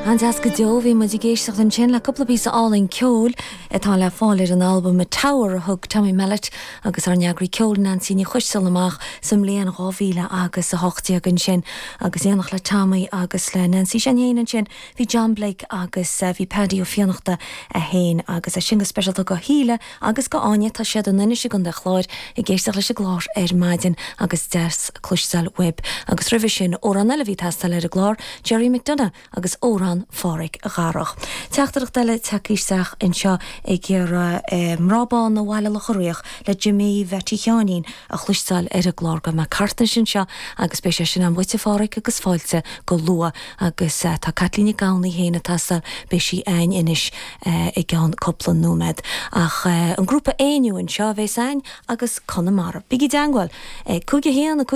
An-deas go deo. Bhí muid ag éisteacht ansin le cúpla píosa álainn ceoil atá le fáil ar an albam A Tower a thug Tommy Mellett agus ár n-eagraí ceoil Neansaí Ní Choisteala amach sa mbliain 2000 agus 18 ansin. Agus in éineacht le Tommy agus le Neansaí sin féin ansin bhí John Blake agus bhí Paddy Ó Fiannachta féin agus é sin go speisialta go Shíle agus go Áine, tá siad in Inis i gContae Chláir ag éisteacht leis an gclár ar maidin agus deas cloisteáil uaibh. Agus roimhe sin, amhrán eile a bhí ag teastáil ar an gclár, Gerry McDonagh agus Amhrán Pháraic Dharach. Teachtaireacht eile tagtha isteach anseo ag iarraidh Mná Bána Bhaile Locha Riach le Jimí Mheaití Sheáinín a chloisteáil ar an gclár. Gabhfaidh mé thart anois anseo agus beidh sé sin a'm dhuit a Pháraic agus fáilte go luath. Agus tá Caitlín Nic Gabhann í féin ag teastáil, beidh sí a'ainn anois i gceann cúpla nóiméad. Ach an grúpa Éinniú anseo a bheas a'ainn agus Conamara. Bígí i dteangmháil ag 5 1 5.